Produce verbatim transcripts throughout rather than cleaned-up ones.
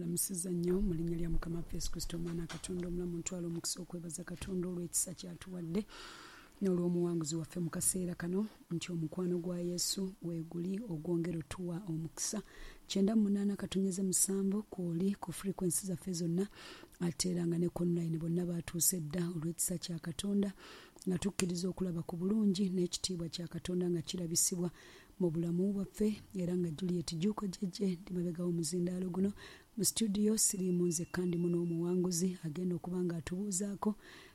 Lamusiza nnyo mu linnya lya Mukama waffe Yesu Kristo, omwana Katonda omulamu. Ntwala omukisa okwebaza Katonda olw'ekisa kyatuwadde n'olw'omuwanguzi waffe mu kaseera kano, nti omukwano gwa Yesu weeguli ogwongera otuwa omukisa. Kyenda mu munaana katonyeze musanvu kwoli ku frequency zaffe zonna, ate era nga ne online bonna batuuse dda olw'ekisa kya Katonda, nga tukkiriza okulaba ku bulungi n'ekitiibwa kya Katonda nga kirabisibwa mu bulamu bwaffe. Era nga Juliet Juuko Jjejje ndi mabega w'omuzindaalo guno mu studio, siriimu nzekka, ndimu n'omuwanguzi agenda okuba nga atubuuzaako,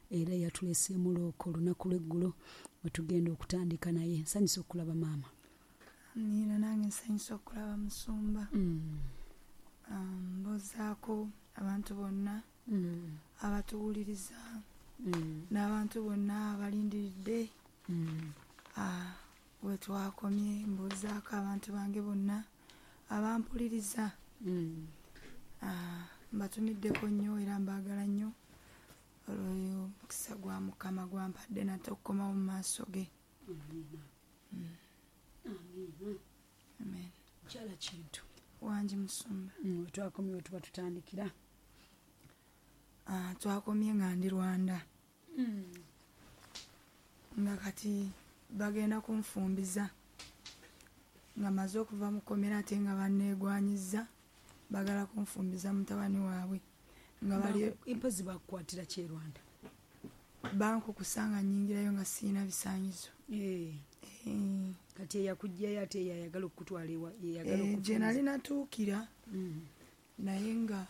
era yatuleseemu looko olunaku lw'eggulo we tugenda okutandika naye. Nsanyusa okulaba maama. Amiina, nange nsanyusa okulaba musumba. Mm. Um, mbuuzaako abantu bonna Mm. abatuwuliriza Mm. n'abantu bonna abalindiridde Mm. ah, we twakomye. Mbuuzaako abantu bange bonna abampuliriza. Mm. Ah, mbatumiddeko nnyo era mbaagala nnyo olw'oyo omukisa gwa Mukama gwampadde nate okukomawo mu maaso ge. Amiina. Amiina. Amen. Kyala Kintu. Wangi musumba. Mm, we twakomye we tuba tutandikira. Ah, twakomye nga ndi Rwanda, Mm. nga kati bagenda kunfumbiza nga maze okuva mu kkomera, ate nga banneegwanyiza, baagala kunfumbiza mutabani waabwe nga bali. Impozi bakukwatira ki e Rwanda? Bankukusa nga nnyingirayo nga sirina bisaanyizo. Eh, Eh, kati eyakugjayo ate yayagala okukutwala ewa yeyagala eh, gye nali okufunza? natuukira Mm. naye nga